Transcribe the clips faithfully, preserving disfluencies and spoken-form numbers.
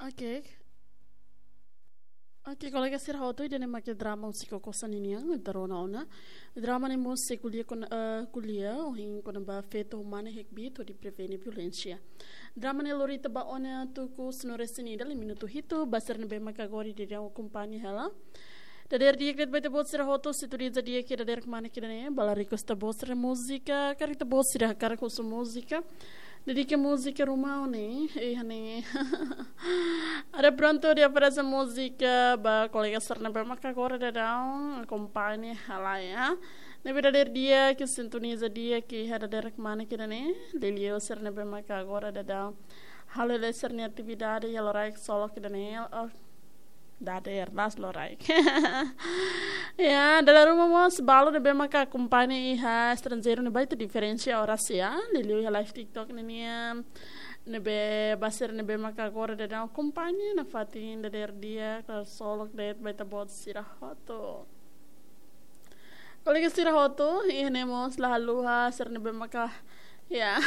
Oke. Oke, kolega sira hotu, ida-ne'e mak drama Husi Koko Sá ninian, ita rona ona. Drama ne'e mós sei ko'alia kon, eh, ko'alia ohin kona-ba feto ho mane hakbiit hodi prevene violénsia. Drama ne'e lori ita ba ona tuku sanulu-resin-ida, lima minutu hitu, ba sira ne'ebé maka agora daudaun akompaña hela. Dadeer di'ak de'it ba ita-boot sira hotu, sintoniza di'ak iha dadeer kmanek ida-ne'e, ba la request ita-boot sira múzika, karik ita-boot sira hakarak husu múzika. Dedika múzika ruma ne'e, eh, ne'e. Atu prontu hodi oferese múzika ba kolega sira ne'ebé maka agora daudaun akompaña hela, ya. Ne'ebé dadeer di'ak, sintoniza di'ak iha dadeer kmanek ida-ne'e, liuliu sira ne'ebé maka agora daudaun halo sira-nia atividade iha loraik ksolok ida-ne'e, oh, dadeer das loraik. Ya, dala ruma mós balu ne'ebé maka akompaña iha estranjeiru ne'ebá, ita diferensia oras ya, liuliu iha live TikTok ne'e nian, ne'ebé ba sira ne'ebé maka agora daudaun akompaña, nafatin dadeer di'ak, ksolok de'it ba ita-boot sira hotu. Kolega sira hotu, iha ne'e mós la haluha sira ne'ebé maka, ya.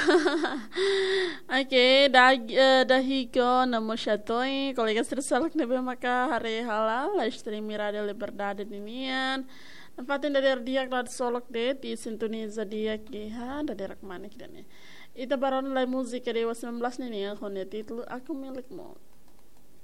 Oke, da, eh, Dahiko Namo Shatoi, kolega sira seluk ne'ebé maka haree hela live stream Rádio Liberdade ninian. Nafatin dadeer di'ak, ksolok de'it, sintoniza di'ak iha dadeer kmanek ida-ne'e. Ita bá rona lai múzika Dewa sembilan belas ninian, ho nia títulu Aku Milikmu.